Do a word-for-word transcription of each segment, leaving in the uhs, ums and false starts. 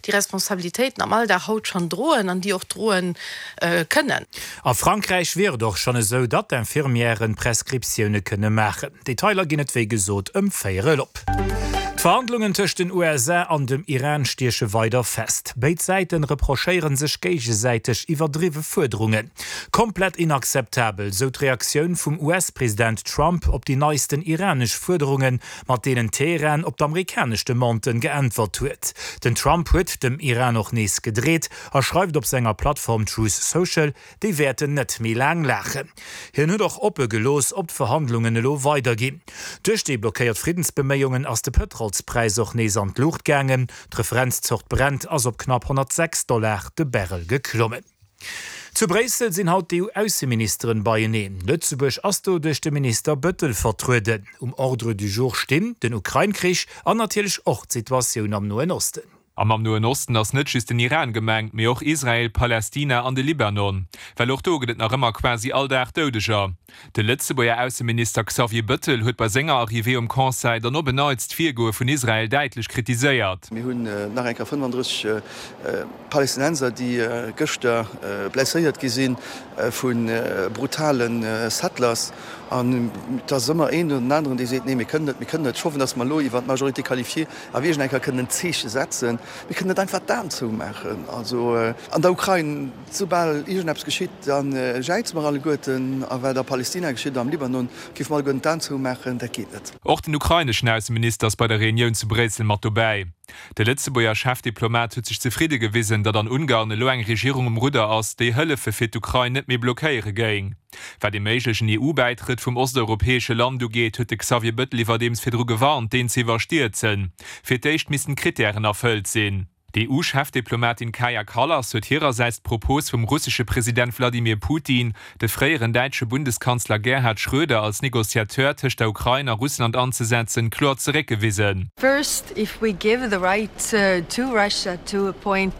déi Responsabilitéiten am Alldag haut schonn droen an déi och droen kënnen. A Frankräich wier et och schonn esou, datt d'Infirmièren Prescriptioune kënne maachen. Detailer ginn et wéi gesot ëm véierel op. D'Verhandlungen tëscht den U S A an dem Iran stieche weider fest. Béid Säiten reprochéiere sech géigesäiteg iwwerdriwwe Fuerderungen. Komplett inakzeptabel, sou d'Reaktioun vum U S-President Trump op déi neisten iranesch Fuerderungen, mat deenen Teheran op d'amerikanesch Demanden geäntwert huet. Den Trump huet dem Iran och nees gedreet a schreift op senger Plattform Truth Social, déi wäerten net méi laang laachen. Hien huet och oppe gelooss, ob d'Verhandlungen elo weiderginn. Duerch déi blockéiert Friddensbeméiungen ass de Pëtrolspräis och nees an d'Luucht gaangen. D'Referenzzort Brent ass op knapp honnertsechs Dollar de Barrel geklommen. Zu Bréissel sinn haut d'E U-Ausseministeren beieneen. Lëtzebuerg ass do duerch de Minister Bettel vertrueden. Um Ordre du jour stinn den Ukrain-Krich an natierlech och d'Situatioun am Noen Osten. Am am Noen Osten ass net just den Iran gemengt, mee och Israel, Palästina an de Libanon. Well och do gëtt et nach ëmmer quasi all Dag Doudeger. De Lëtzebuerger Ausseminister Xavier Bettel huet bei senger Arrivée um Conseil dann op en Neits d'Virgoe vun Israel däitlech kritiséiert. Mir hunn nach eng Kéier fënnefandrësseg Palästinenser, déi gëschter blesséiert gi sinn vu brutale Settlers. An et ass ëmmer een oder den aneren, dee seet, nee, mir kënnen net, mir kënnen net. Ech hoffen, datt mer elo iwwer d'Majorité qualifiée awer iergend eng Kéier kënnen en Zeeche setzen. Mir kënnen net einfach d'Aen zoumaachen. Also an der Ukrain, soubal iergendeppes geschitt, da jäize mer alleguerten. A wat a Palästina geschitt, am Libanon, géife mer alleguerten d'Aen zoumaachen. Dat geet net. Och den ukraineschen Ausseminister ass bei der Reunioun zu Bréissel mat dobäi. De Lëtzebuerger Chefdiplomat huet sech zefridde gewisen, datt an Ungarn elo eng Regierung um Rudder ass, déi Hëllefe fir d'Ukrain net méi blockéiere géing. Wat de méiglechen E U-Bäitrëtt vum osteuropäesche Land ugeet, huet de Xavier Bettel iwwerdeems virdru gewarnt, deen ze iwwerstierzen. Fir d'éischt missten d'Krittären erfëllt sinn. D'E U-Chefdiplomatin Kaja Kallas huet hirersäits d'Propos vum russesche President Wladimir Putin, de fréieren däitsche Bundeskanzler Gerhard Schröder als Negociateur tëscht der Ukrain a Russland anzesetzen, kloer zeréckgewisen. First, if we give the right to Russia to appoint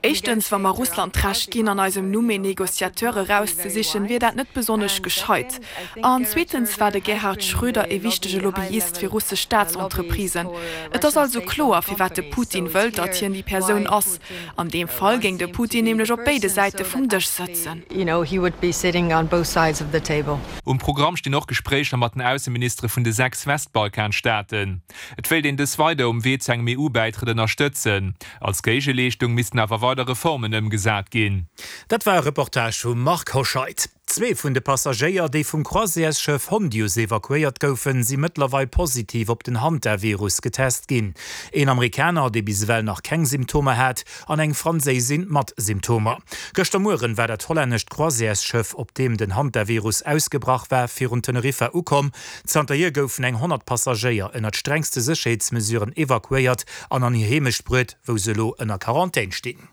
Éischtens, wa mer Russland d'Recht ginn, an eisem Numm een Negociateur erauszesichen, wier dat net besonnesch gescheit. An zweetens war de Gerhard Schröder e wichtege Lobbyist fir russesch Staatsentreprisen. Et ass also kloer, firwat de Putin wëllt, datt hien déi Persoun ass. An deem Fall géing de Putin nämlech op béide Säite vum Dësch sëtzen. You know, he would be sitting on both sides of the table. Um Programm stinn och Gespréicher mat den Ausseministere vun de sechs Westbalkanstaaten. Et wéilt een dës weider um Wee zu engem E U-Bäitrëtt ënnerstëtzen. Als Géigeleeschtung missten awer weider Reformen ëmgesat ginn. Dat war e Reportage vum Marc Hoscheid. Zwee vun de Passagéier, déi vum Croisièresschëff Hondius evakuéiert goufen, si mëttlerweil positiv op den Hantavirus getest ginn. Een Amerikaner, dee bis ewell nach keng Symptomer hat, an eng Franséisin mat Symptomer. Gëschter Muere war dat hollännescht Croisièresschëff, op deem den Hantavirus ausgebrach war, virun Teneriffa ukomm. Zanterhier goufen eng honnert Passagéier ënner strengste Sécherheetsmesuren evakuéiert an an hir Heemecht bruecht, wou se elo ënner Quarantän stinn.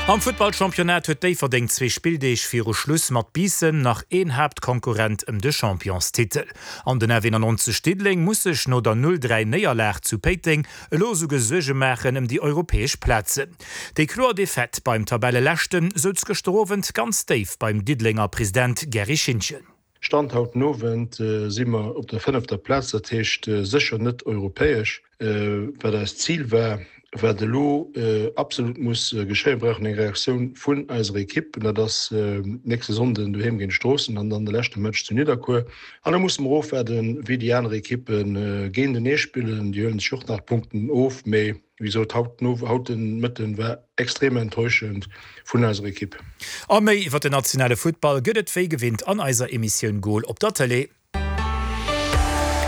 Am Futtballchampionnat huet Déifferdeng zwee Spilldeeg viru Schluss mat Biissen nach een Haaptkonkurrent ëm de Championstitel. An den F nonenannzeg Diddeleng muss sech no der null dräi Néierlag zu Péiteng elo souguer Suerge maachen ëm déi europäesch Plazen. Déi kloer Defaite beim Tabelleleschten souz gëschter Owend ganz déif beim Diddelenger President Gerry Schintgen. Stand haut den Owend si mer op der fënnefter Plaz, dat heescht sécher net europäesch, wat eist Zil war. Wat elo absolut muss geschéien, brauchen eng Reaktioun vun eiser Ekipp, dat ass nächste Sonnden doheem géint Stroossen an dann de leschte Match zu Nidderkuer. An da musse mer ofwaarden, wéi déi aner Ekippe géintenee spillen. Déi huelen sech och nach Punkten of, mee wéi gesot, haut haut de Mëtten war extrem enttäuschend vun eiser Ekipp. A méi iwwer den nationale Futtball gëtt et wéi gewinnt an eiser Emissioun Goal op der Tëlee.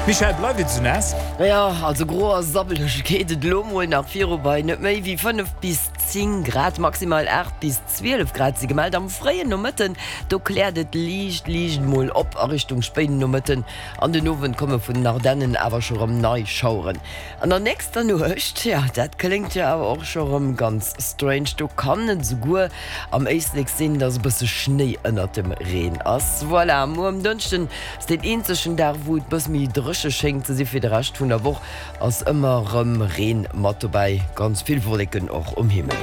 Michèle, bleift et sou naass? Jo, also gro a sabbeleg geet et elo mol nach viru bei net méi wéi fënnef bis zéng Grad, maximal aacht bis zwielef Grad si gemellt. Am fréien Nomëtten do kläert et liicht liicht mol op a Richtung spéiden Nomëtten an den Owend komme vun den Ardennen awer scho rëm nei Schaueren. An der nächster Nuecht, jo dat kléngt jo awer och scho rëm ganz strange, do kann et souguer am Éislek sinn, dass e bësse Schnéi ënnert dem Reen ass. Voilà, muer um Dënschden ass deen eenzegen Dag wou et bësse méi dréche schéngt ze si. Fir de Rescht vun der Woch ass ëmmer rëm Reen mat dobäi, ganz vill Wolleken och um Himmel.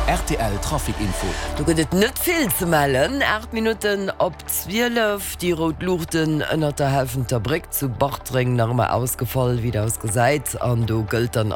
R T L Trafic Info. Do gëtt et net vill ze mellen. Aacht Minutten op zwielef, déi rout Luuchten ënnert der Helfenter Bréck zu Bartreng nach ëmmer ausgefall, wéi et ausgesäit, an do gëllt dann